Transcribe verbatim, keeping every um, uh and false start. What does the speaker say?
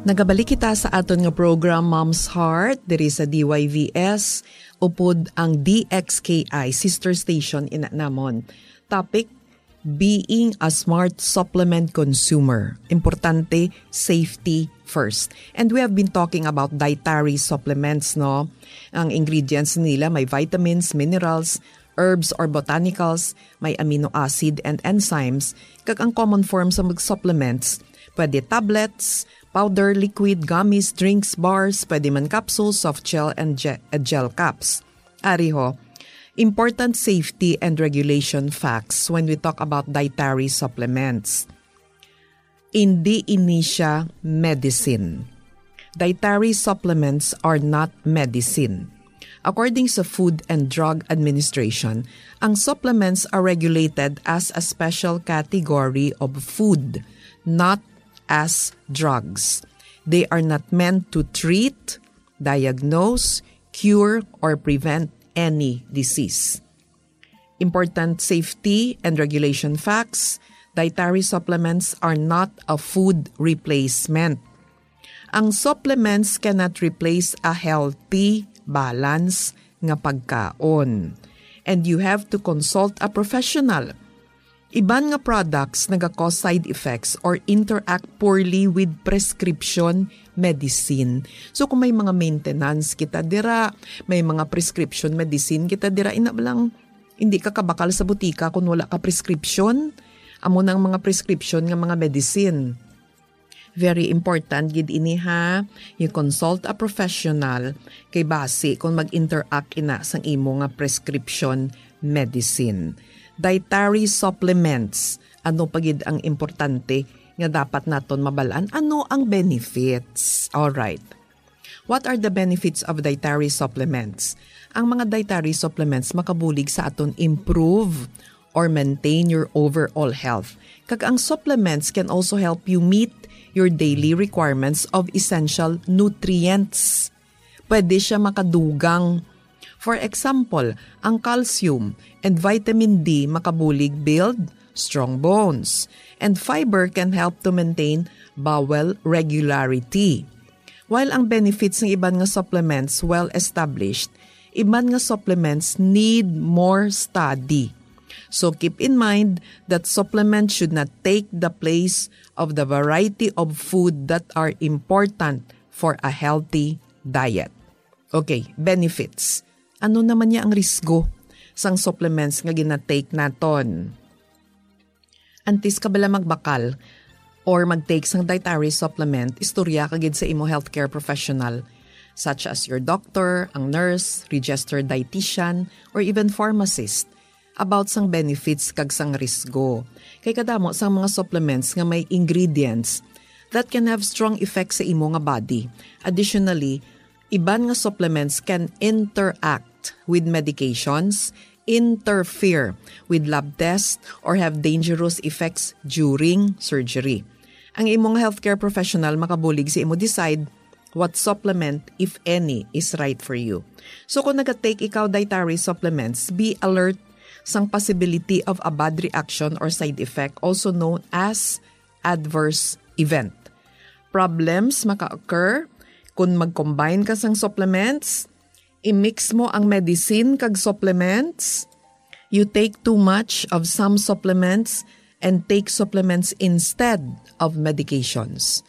Nagabalik kita sa aton nga program, Mom's Heart, diri sa D Y V S, upod ang D X K I, sister station ina namon. Topic, being a smart supplement consumer. Importante, safety first. And we have been talking about dietary supplements, no? Ang ingredients nila may vitamins, minerals, herbs or botanicals, may amino acid and enzymes, kag ang common form sa mag-, supplements, pwede tablets, powder, liquid, gummies, drinks, bars, pwede man capsules, soft gel, and ge-, uh, gel caps. Ari ho, important safety and regulation facts when we talk about dietary supplements. Indi ini siya medicine. Dietary supplements are not medicine. According sa Food and Drug Administration, ang supplements are regulated as a special category of food, not as drugs. They are not meant to treat, diagnose, cure, or prevent any disease. Important safety and regulation facts, dietary supplements are not a food replacement. Ang supplements cannot replace a healthy, balance nga pagkaon. And you have to consult a professional. Iban nga products naga-cause side effects or interact poorly with prescription medicine. So kung may mga maintenance kita dira, may mga prescription medicine kita dira, ina ba lang, hindi ka kabakal sa butika kung wala ka prescription. Amo nang mga prescription nga mga medicine. Very important gid ini, ha. You consult a professional kay basi kung mag-interact ina sang imo nga prescription medicine. Dietary supplements. Ano pa gid ang importante nga dapat naton mabalaan? Ano ang benefits? All right. What are the benefits of dietary supplements? Ang mga dietary supplements makabulig sa aton improve or maintain your overall health. Kag ang supplements can also help you meet your daily requirements of essential nutrients. Pwede siya makadugang. For example, ang calcium and vitamin D makabulig build strong bones, and fiber can help to maintain bowel regularity. While ang benefits ng iban nga supplements well established, iban nga supplements need more study. So keep in mind that supplements should not take the place of the variety of food that are important for a healthy diet. Okay, benefits. Ano naman niya ang risgo sang supplements nga ginatake naton? Antes ka bala magbakal or mag-take sang dietary supplement, istorya ka gid sa imo healthcare professional, such as your doctor, ang nurse, registered dietitian, or even pharmacist, about sang benefits kag sang risgo. Kay kadamo sang mga supplements nga may ingredients that can have strong effects sa imo nga body. Additionally, iban nga supplements can interact with medications, interfere with lab tests, or have dangerous effects during surgery. Ang imong healthcare professional makabulig sa imo decide what supplement, if any, is right for you. So kung nagatake ikaw dietary supplements, be alert sang possibility of a bad reaction or side effect, also known as adverse event. Problems maka-occur kung mag-combine ka sang supplements, i-mix mo ang medicine kag supplements, you take too much of some supplements and take supplements instead of medications.